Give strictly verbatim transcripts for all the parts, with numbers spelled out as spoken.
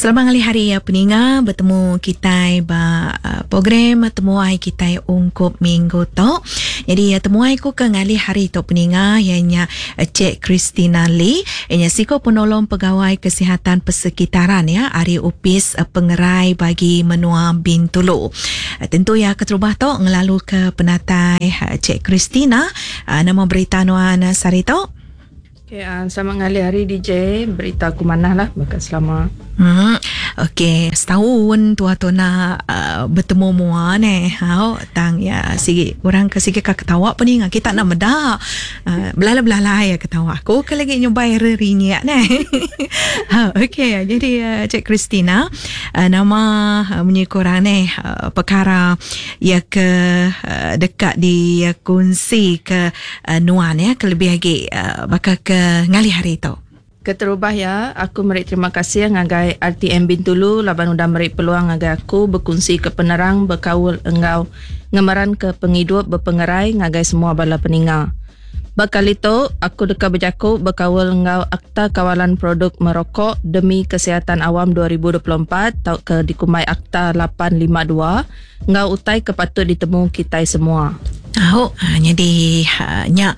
Selamat ngalih hari ya peninga, bertemu kita ba program temuai kita ungkup minggu tu. Jadi temuai ku ke ngalih hari tu peninga ianya Cik Christina Lee, ianya siko penolong pegawai kesihatan persekitaran ya ari Opis Pengerai bagi menua Bintulu. Tentu ya keterubah tu ngelalu ke penatai Cik Christina, nama berita nuan sehari tu? Okay, uh, selamat ngalih hari D J. Berita aku manah lah bakal selama. Hmm, okey, setahun tua tu nak uh, bertemu mua ne. Hau tang ya sigi orang ke sigi ka ketawa pun ni kita nak meda. Uh, belala-belala ya ketawa. Aku ke lagi nyobai rerinyak ne. Ha, okey, jadi uh, Cik Christina, uh, nama uh, munyi korang ne uh, perkara ya ke uh, dekat di uh, kongsi ke uh, nuan ya kelebih lagi uh, bakal ke ngalih hari tu. Keterubah ya, aku meri terima kasih ngagai R T M Bintulu laban udah meri peluang ngagai aku berkongsi ke penerang berkaul engau ngemaran ke penghidup berpengerai ngagai semua bala peninga. Bakal itu aku deka berjaku berkaul engau Akta Kawalan Produk Merokok Demi Kesihatan Awam dua ribu dua puluh empat atau ke dikumai Akta lapan lima dua engau utai ke patut ditemu kita semua. Oh, jadi nya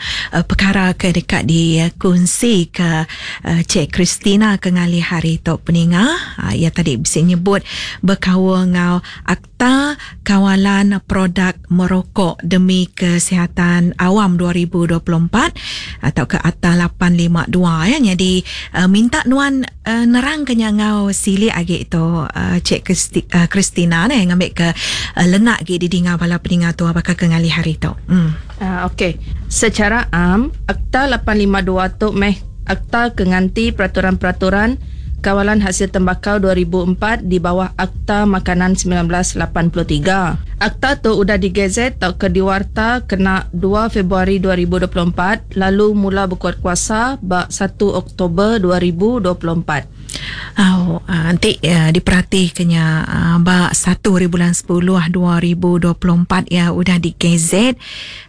perkara ke dekat dikongsi ke Cik Christina ke ngalih hari tu peninga. Ia tadi bisa nyebut berkaul ngau Akta Kawalan Produk Merokok Demi Kesihatan Awam dua ribu dua puluh empat atau ke Akta lapan lima dua ya. Jadi minta nuan nerang ke ngau silik agi tu Cik Christina ne ngambil ke lenak gi didinga bala peninga tu bakal ke ngalih hari tu. Hmm. Uh, Okey, secara am Akta lapan lima dua tu meh akta kenganti peraturan-peraturan kawalan hasil tembakau dua ribu empat di bawah Akta Makanan sembilan belas lapan puluh tiga. Akta tu udah digazet atau ke diwarta kena dua Februari dua ribu dua puluh empat lalu mula berkuat kuasa bak satu Oktober dua ribu dua puluh empat. Oh, nanti uh, diperhati kenya uh, bak satu hari bulan sepuluh dua ribu dua puluh empat ya udah digazet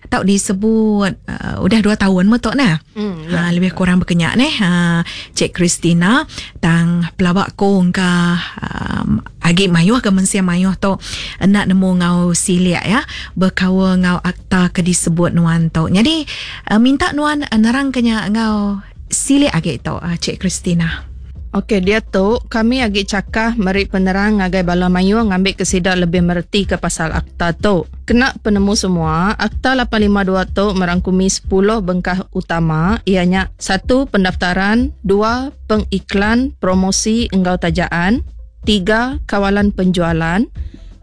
atau disebut uh, udah dua tahun metok nah. Hmm, ya. Ha, lebih kurang berkenyak neh. Ha, Cik Christina tang pelawak ko engka um, agi mayuh ke mensia mayuh tu nak nemu ngau siliak ya berkaul ngau akta ke disebut nuan tu. Jadi uh, minta nuan uh, nerang kenya ngau siliak agi tu uh, Cik Christina. Okey, dia tu kami agi cakah meri penerang ngagai bala mayu ngambil ke sida lebih mereti ke pasal akta tu. Kena penemu semua, Akta lapan lima dua tu merangkumi sepuluh bengkah utama, ianya satu pendaftaran, dua pengiklan, promosi enggau tajaan, tiga kawalan penjualan,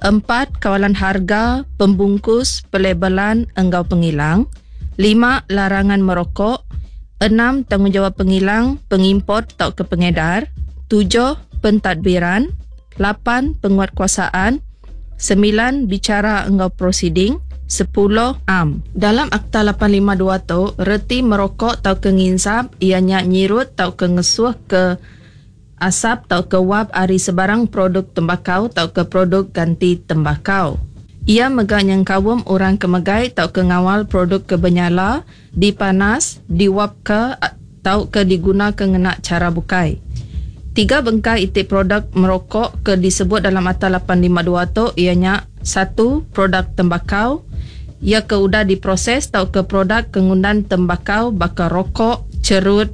empat kawalan harga, pembungkus, pelabelan enggau pengilang, lima larangan merokok, enam tanggungjawab pengilang, pengimport atau ke pengedar, tujuh pentadbiran, lapan penguatkuasaan, sembilan bicara enggau proceeding, sepuluh am. Dalam Akta lapan lima dua tu, reti merokok atau ke nginsap, ianya nyirut atau ke ngesuh ke asap atau ke wap ari sebarang produk tembakau atau ke produk ganti tembakau. Ia megah yang kawum orang kemegai atau ke ngawal produk kebenyala, dipanas, diwap ke atau ke diguna ke ngena cara bukai. Tiga bengkai itik produk merokok ke disebut dalam Akta lapan lima dua tu ianya satu produk tembakau, ia ke udah diproses atau ke produk kengundan tembakau bakal rokok, cerut,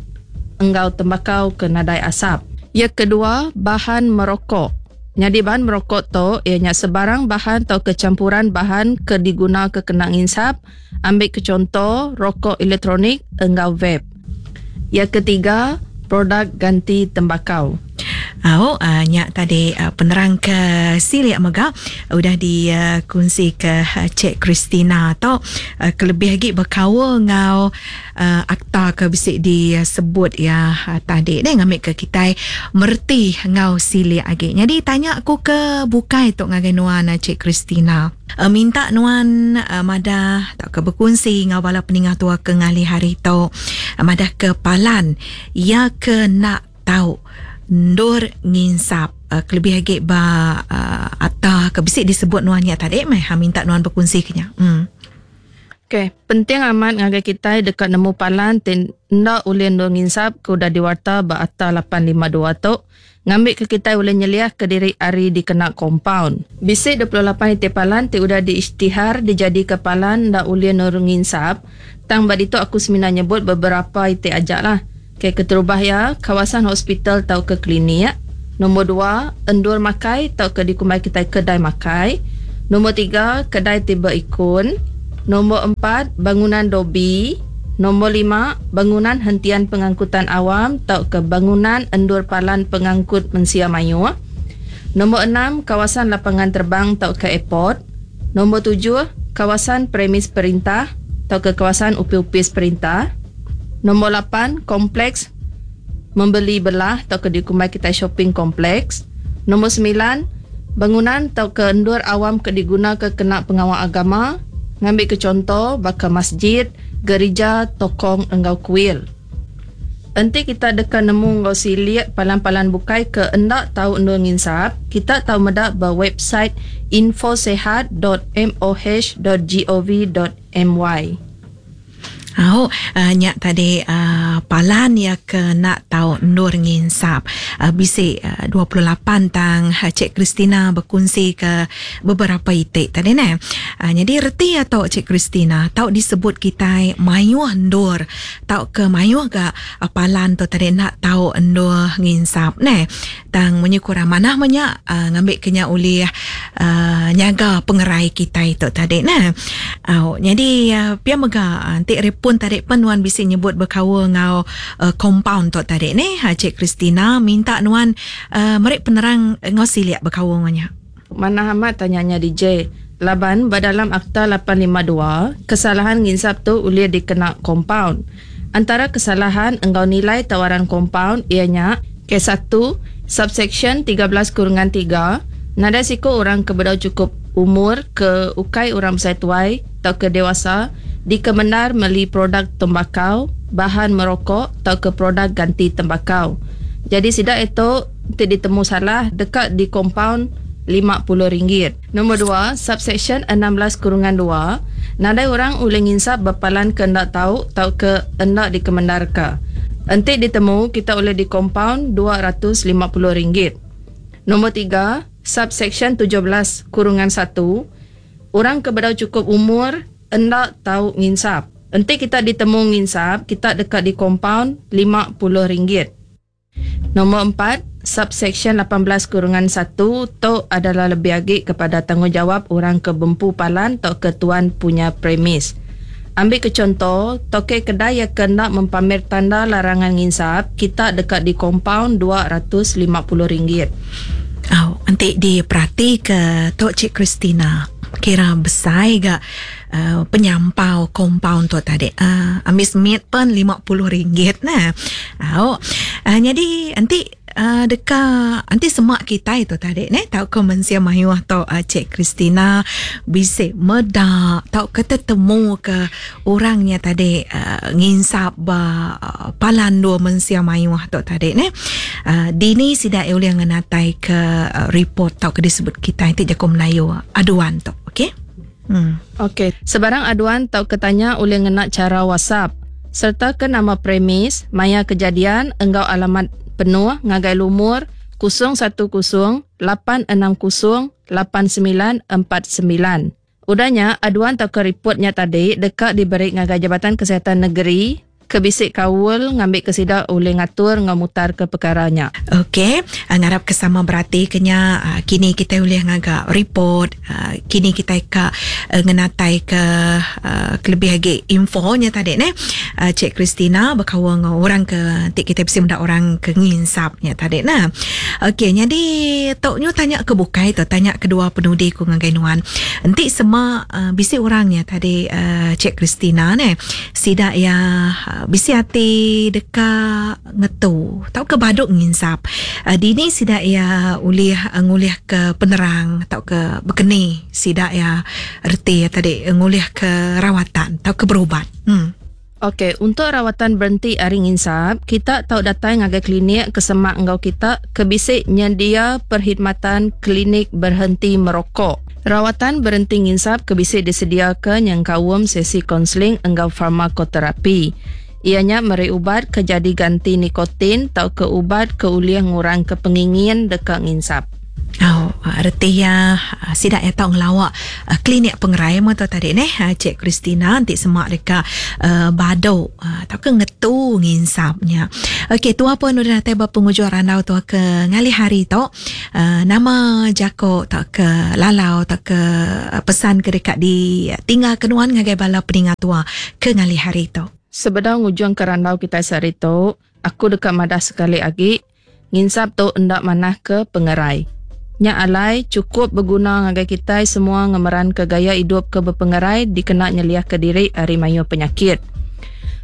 enggau tembakau ke nadai asap. Ia kedua, bahan merokok. Jadi bahan merokok tu ianya sebarang bahan atau kecampuran bahan ke diguna ke kena nginsap, ambil ke contoh rokok elektronik enggau vape. Yang ketiga, produk ganti tembakau. Oh, uh, nyak tadi uh, penerang ke silik mega udah dikongsi uh, ke uh, Cik Christina tu uh, kelebih lagi berkaul ngau uh, akta ke bisik disebut ya uh, tadi deh ngambil ke kita merti ngau silik lagi. Jadi tanya aku ke bukai tu ngagai nuan uh, Cik Christina. Uh, minta nuan uh, madah tak ke berkongsi ngau bala peningah tua ke ngalih hari tu uh, madah ke palan ya ke nak tahu ndur nginsap uh, kelebih lagi ba uh, atah ke bisik disebut nuan nya tadi meh ha minta nuan berkongsi kenya. Hmm. Okey, penting amat ngagai kita dekat nemu palan ti enda ulih endur nginsap ke udah diwarta ba Akta lapan lima dua tu ngambil ke kita ulih nyeliah ke diri ari dikena kompaun. Bisi dua puluh lapan itik palan ti udah diisytihar dijadi ke palan enda ulih endur nginsap. Tang ba ditu aku semina nyebut beberapa itik aja lah. Okey, keterubah ya, kawasan hospital tau ke klinik. Nombor dua, endur makai tau ke dikumbai kita kedai makai. Nombor tiga, kedai ti berikun. Nombor empat, bangunan dobi. Nombor lima, bangunan hentian pengangkutan awam tau ke bangunan endur palan pengangkut mensia mayuh. Nombor enam, kawasan lapangan terbang tau ke airport. Nombor tujuh, kawasan premis perintah tau ke kawasan upi-upis perintah. Nombor lapan, kompleks membeli belah tau ke dikumbai kita shopping kompleks. Nombor sembilan, bangunan tau ke endur awam ke diguna ke kena pengawal agama. Ngambil ke contoh baka masjid, gereja, tokong enggau kuil. Enti kita deka nemu enggau silik palan-palan bukai ke endak tau endur nginsap, kita tau medak ba website infosehat dot m o h dot g o v dot m y. Oh, uh, nyak tadi uh, palan ya ke nak tau endur nginsap. Uh, bisi uh, dua puluh lapan tang uh, Cik Christina berkongsi ke beberapa itik tadi ne. Uh, jadi reti atau Cik Christina tau disebut kita mayuh endur tau ke mayuh ga uh, palan tu tadi nak tau endur nginsap ne. Tang menyukur amanah menyak uh, ngambil kenya oleh uh, nyaga pengerai kita itu tadi ne. Uh, jadi uh, pia mega nanti repun pun tarik penuan bisi nyebut berkawa ngau uh, compound tok tarik ni. Ha, Cik Christina minta nuan uh, merik penerang ngau siliak berkawa ngaunya. Mana amat tanyanya D J. Laban badalam Akta lapan lima dua, kesalahan nginsap tu ulia dikena compound. Antara kesalahan engkau nilai tawaran compound ianya K satu subsection tiga belas kurungan tiga, nada siko orang ke bedau cukup umur ke ukai orang besar tuai atau ke dewasa dikemenar meli produk tembakau, bahan merokok atau ke produk ganti tembakau. Jadi sidak itu tidak ditemu salah dekat di compound lima puluh ringgit. Nombor dua, subsection enam belas kurungan dua, nadai orang ulih nginsap berpalan ke ndak tahu atau ke ndak dikemendarka. Entik ditemu kita boleh di compound dua ratus lima puluh ringgit. Nombor tiga, subsection tujuh belas kurungan satu, orang ke bedau cukup umur ndak tahu nginsap. Entik kita ditemu nginsap, kita dekat di compound lima puluh ringgit. Nombor empat, subsection lapan belas kurungan satu tu adalah lebih agi kepada tanggungjawab orang ke bempu palan atau ke tuan punya premis. Ambil ke contoh, toke kedai yang kena mempamer tanda larangan nginsap, kita dekat di compound dua ratus lima puluh ringgit. Oh, nanti diperhati ke Tok Cik Christina. Kira besar gak uh, penyampau compound tu tadi. Uh, amis miet pun lima puluh ringgit nah. Oh, uh, jadi nanti uh, dekat nanti semak kita itu tadi ne tau ke mensia mayuh tau uh, Cik Christina bisik medak tau ke tetemu ke orangnya tadi uh, nginsap ba uh, palan dua mensia mayuh tau tadi ne. Uh, dini sidak oleh ngenatai ke uh, report tau ke disebut kita nanti jago Melayu aduan tu. Okey. Hmm. Okey, sebarang aduan tau ketanya oleh ngena cara WhatsApp serta ke nama premis, maya kejadian enggau alamat penuh ngagai lumur kosong satu kosong lapan enam kosong lapan sembilan empat sembilan. Udahnya aduan tau ke reportnya tadi dekat diberi ngagai Jabatan Kesihatan Negeri kebisik kaul ngambil ke sidak oleh ngatur ngamutar ke perkaranya. Okey, ngarap kesama berarti kenya kini kita boleh ngagak report, kini kita ka ngenatai ke kelebih lagi infonya tadi ne. Cik Christina berkawan dengan orang ke nanti kita mesti mendak orang ke nginsapnya tadi nah. Okey, jadi tok nyu tanya ke bukai tu, tanya kedua penudi ku ngagai nuan. Nanti semua bisik orangnya tadi Cik Christina ne. Sidak ya bisi hati dekat ngetu tau ke baduk nginsap. Uh, dini sidak ya ulih uh, ngulih ke penerang tau ke berkeni sidak ya reti ya tadi ngulih ke rawatan tau ke berubat. Hmm. Okey, untuk rawatan berhenti ari nginsap, kita tau datang ngagai klinik kesemak enggau kita ke bisik nyendia perkhidmatan klinik berhenti merokok. Rawatan berhenti nginsap ke bisi disediakan yang kawum sesi konseling enggau farmakoterapi. Ianya meri ubat ke jadi ganti nikotin atau ke ubat ke uliah ngurang ke pengingin dekat nginsap. Oh, reti ya sidak ya tau ngelawak klinik pengerai mo tadi neh Cik Christina nanti semak dekat uh, badok atau ke ngetu nginsapnya. Okey, tua pun udah datai ba penghujung randau tua ke ngalih hari tu. Uh, nama jako tak ke lalau tak ke pesan ke dekat di tinggal kenuan ngagai bala peningat tua ke ngalih hari tu. Sebedau ngujung ke randau kita sehari tu, aku dekat madah sekali lagi nginsap tu endak manah ke pengerai. Nya alai cukup berguna ngagai kita semua ngemeran ke gaya hidup ke berpengerai dikena nyeliah ke diri ari mayu penyakit.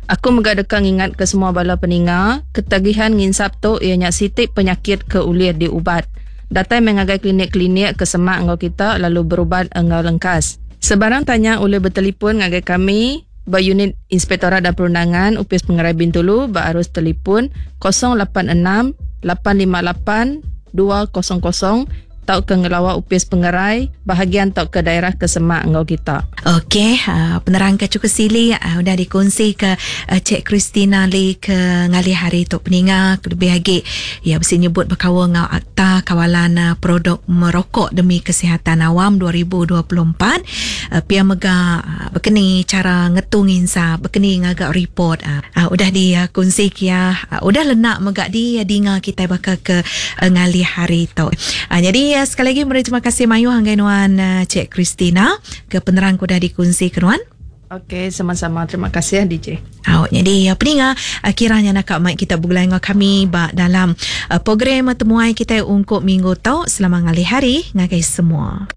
Aku mega deka ngingat ke semua bala peninga, ketagihan nginsap tu ianya sitik penyakit ke uliah diubat. Datai mengagai klinik-klinik ke semak enggau kita lalu berubat enggau lengkas. Sebarang tanya boleh bertelefon ngagai kami ba unit Inspektorat dan Perundangan Upis Pengerai Bintulu ba arus telefon kosong lapan enam lapan lima lapan dua kosong kosong tau ke ngelawak Upis Pengerai bahagian tau ke daerah kesemak enggau kita. Okey, uh, penerang ke cukup sili uh, udah dikongsi ke uh, Cik Christina Lee ke ngalih hari tu peninga lebih lagi ya mesti nyebut berkawal ngau Akta Kawalan uh, Produk Merokok Demi Kesihatan Awam dua ribu dua puluh empat. Uh, pia mega uh, berkeni cara ngetung insap, berkeni ngagak report uh, uh, udah dikongsi kia uh, udah lenak mega di uh, dinga kita bakal ke uh, ngalih hari tu. Uh, jadi uh, sekali lagi meri terima kasih mayu hanggai nuan uh, Cik Christina ke penerang udah dikongsi ke nuan. Okey, sama-sama. Terima kasih ya D J. Oh, jadi peninga kiranya nak mic kita bergulai dengan kami ba dalam uh, program temuai kita ungkup minggu tau. Selamat ngalih hari ngagai semua.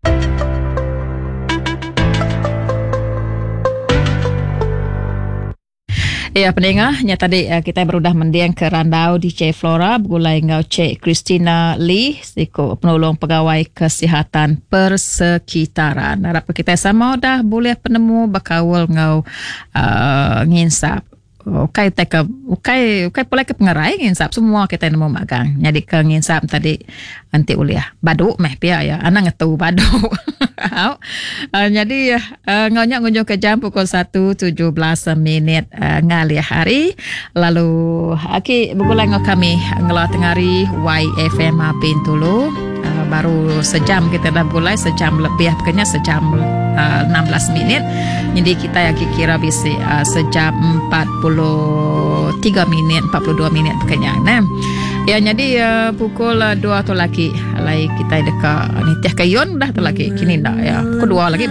Ya, pendengar, nya tadi kita berudah mendiang ke randau D J Flora bergulai ngau Cik Christina Lee, siku penolong pegawai kesihatan persekitaran. Harap kita sama dah boleh penemu bakawal ngau uh, nginsap. Ukai tak ke ukai ukai pula ke pengerai nginsap semua kita nemu magang. Jadi ke nginsap tadi anti uliah. Baduk meh pia ya. Anak ngetu baduk. Uh, jadi uh, ngonyak ngunjung ke jam pukul satu tujuh belas minit uh, ngalih hari. Lalu aki bergulai ngau kami ngelah tengari Y F M Bintulu. Uh, baru sejam kita dah bergulai, sejam lebih pokoknya sejam uh, enam belas minit. Jadi kita yang kira bisi uh, sejam empat puluh tiga minit, empat puluh dua minit pokoknya. Nah. Ya, jadi uh, pukul uh, dua tu lagi. Lai kita dekat ni tiah kayun dah tu lagi. Kini dah ya. Pukul dua lagi.